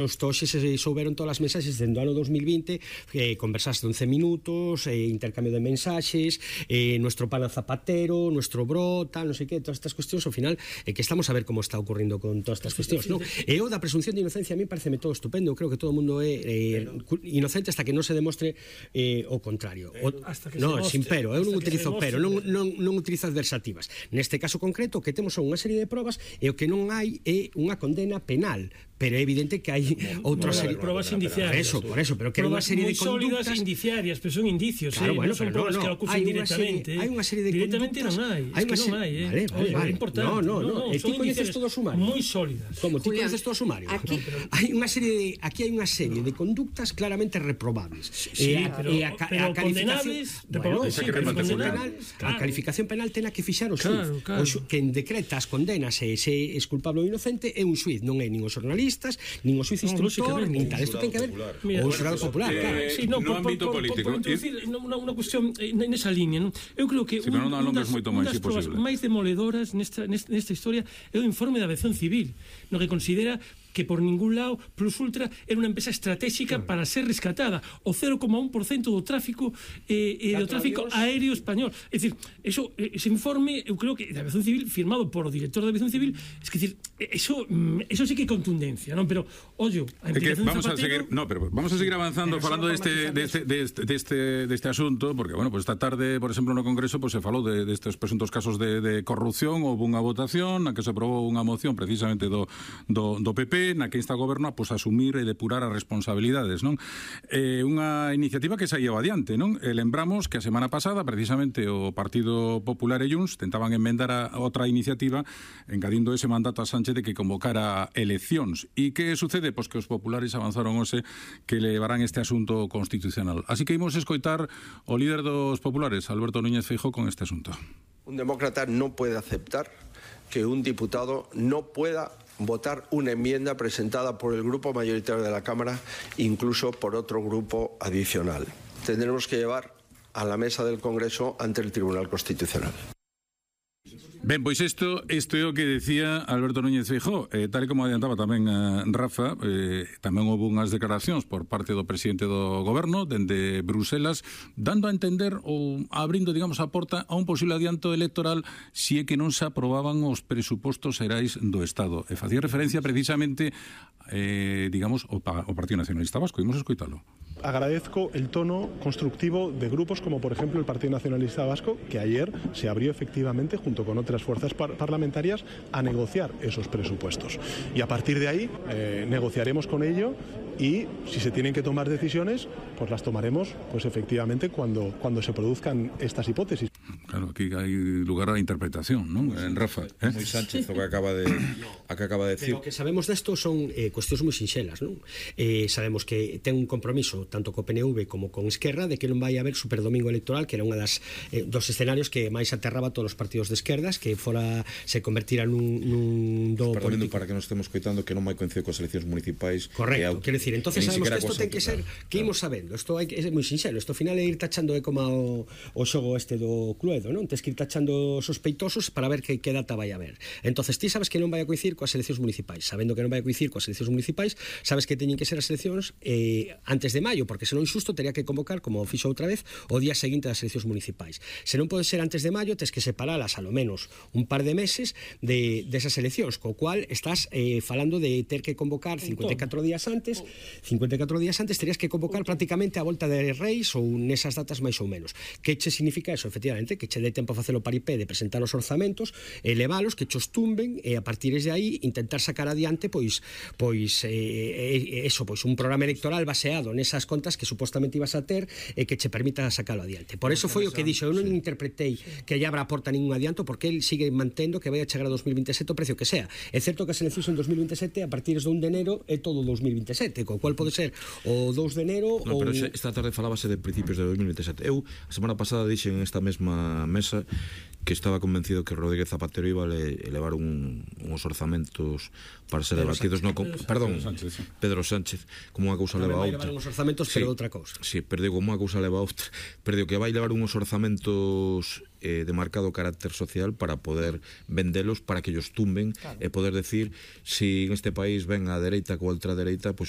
Hoxe se souberon todas as mensaxes dentro do ano 2020, conversaste 11 minutos, intercambio de mensaxes, nuestro pana Zapatero, nuestro bro, tal, non sei que, todas estas cuestións, ao final, que estamos a ver como está ocurrindo con todas estas cuestións, non? E o da presunción de inocencia a mí pareceme todo estupendo, creo que todo o mundo é inocente hasta que non se demostre o contrario. Non, sin pero, eu non utilizo pero, non utilizo adversativas. Neste caso concreto, o que temos son unha serie de probas e o que non hai é unha condena penal, pero é evidente que hai outra serie de probas indiciarias. Por eso, pero que hai unha serie de conductas sólidas indiciarias, pero son indicios, claro, bueno, non son probas que acusan directamente. Hai unha serie de directamente conductas. Non hai, Vale. É importante. No, ti coñeces todo o sumario. Moi sólidas. Como ti coñeces todo o sumario. Aquí hai unha serie de conductas claramente reprobables. Pero condenables, a calificación penal tena que fixar o xuíz. Quen decreta as condenas e se é culpable ou inocente é un xuíz, non é nin os xornalistas, nin o xuiz instructor, nin tal. Isto ten que haber o xurado popular, claro. No ámbito político. Por introducir unha cuestión nesa línea, eu creo que unha das provas máis demoledoras nesta historia é o informe da aviación civil, no que considera que por ningún lado Plus Ultra era unha empresa estratégica para ser rescatada, o 0,1% do tráfico do tráfico aéreo español. É dicir, ese informe, eu creo que da aviación civil, firmado por o director da aviación civil, é dicir, eso sí que é contundencia, non? Pero, ollo, a implicación de Zapatero... Vamos a seguir avanzando falando deste asunto, porque, bueno, pues esta tarde, por exemplo, no Congreso, pues se falou destes presuntos casos de corrupción, houve unha votación na que se aprobou unha moción precisamente do PP, na que insta o goberno a asumir e depurar as responsabilidades, non? Unha iniciativa que saía adiante, non? Lembramos que a semana pasada precisamente o Partido Popular e Junts tentaban enmendar a outra iniciativa engadindo ese mandato a Sánchez de que convocara eleccións. E que sucede? Pois que os populares avanzaron hoxe que levarán este asunto constitucional. Así que imos escoitar o líder dos populares, Alberto Núñez Feijóo, con este asunto. Un demócrata no puede aceptar que un diputado no pueda votar una enmienda presentada por el grupo mayoritario de la Cámara, incluso por otro grupo adicional. Tendremos que llevar a la mesa del Congreso ante el Tribunal Constitucional. Ben, pois isto é o que decía Alberto Núñez Feijóo, tal como adiantaba tamén Rafa, tamén houve unhas declaracións por parte do presidente do goberno dende Bruselas, dando a entender ou abrindo, digamos, a porta a un posible adianto electoral se é que non se aprobaban os presupostos xerais do Estado. E facía referencia precisamente, digamos, ao Partido Nacionalista Vasco. Imos escoitalo. Agradezco el tono constructivo de grupos como, por ejemplo, el Partido Nacionalista Vasco, que ayer se abrió efectivamente, junto con otras fuerzas parlamentarias, a negociar esos presupuestos. Y a partir de ahí negociaremos con ello y si se tienen que tomar decisiones, pues las tomaremos, pues efectivamente, cuando se produzcan estas hipótesis. Claro, aquí hai lugar a interpretación, non? Rafa, moi Sánchez o que acaba de decir. Pero o que sabemos desto son cuestións moi sinxelas, non? Sabemos que ten un compromiso tanto co PNV como con Esquerra de que non vai haber superdomingo electoral, que era unha dos escenarios que máis aterraba a todos os partidos de esquerdas, que se convertira nun do político. Para que nos estemos coitando que non vai coincidir coas eleccións municipais. Correcto, quero dicir, entonces sabemos que isto ten que ser que imos sabendo, isto é moi sinxelo, isto ao final é ir tachando como o xogo este do Cluedo, non? Tes que ir tachando sospeitosos para ver que data vai haber. Entonces ti sabes que non vai a coincidir coas eleccións municipais, sabendo que non vai a coincidir coas eleccións municipais, sabes que teñen que ser as eleccións antes de maio, porque senón xusto teria que convocar, como fixo outra vez, o día seguinte das eleccións municipais. Se non pode ser antes de maio, tes que separalas a lo menos un par de meses desas eleccións, co cual estás falando de ter que convocar 54 días antes terías que convocar prácticamente a volta de Reis ou nesas datas máis ou menos. Que che significa eso? Efectivamente, que che dé tempo a facelo paripé de presentar os orzamentos, elevalos, que chos tumben e a partir de aí intentar sacar adiante un programa electoral baseado nesas contas que supostamente ibas a ter e que che permita sacalo adiante. Por eso foi o que dixo, eu non interpretei que lle abra a porta ningún adianto, porque el sigue mantendo que vai a chegar a 2027 o precio que sea. É certo que as eleccións en 2027 a partir de 1 de enero é todo 2027, co cual pode ser o 2 de enero pero esta tarde falábase de principios de 2027. Eu a semana pasada dixen en esta mesma mesma mesa que estaba convencido que Rodríguez Zapatero iba a elevar uns orzamentos para ser debatidos Pedro Sánchez, como unha cousa leva a outra. Vai levar uns orzamentos, pero outra cousa. Sí, pero digo, como unha cousa leva a outra, pero digo que vai levar uns orzamentos de marcado carácter social para poder vendelos, para que ellos tumben e poder decir, si en este país ven a dereita coa ultradereita, pois o